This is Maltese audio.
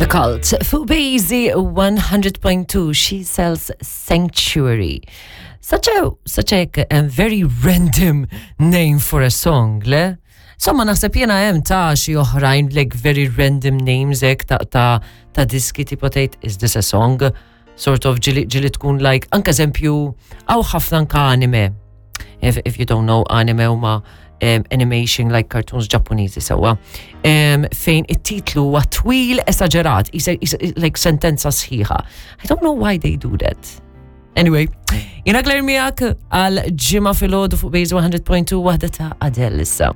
The Cult fuq Basie 100.2 She Sells Sanctuary. Such a such a, a very random name for a song, le? Somma naħseb jena hemm ta' xi oħrajn like very random names hekk ta' ta' ta' diski tipo tgħid is this a song? Sort of ġili ġili tkun like anke eżempju hawn ħafna anke anime. If, if you don't know anime huma um, animation like cartoons Ġappuniżi sewwa. Um, fejn it-titlu huwa twil esaġerat, isa, isa, like sentenza sħiħa. I don't know why they do that. Anyway, jena Claire miegħek għal ġimgħa filgħodu fuq Base 100.2 waħda ta' Adele issa.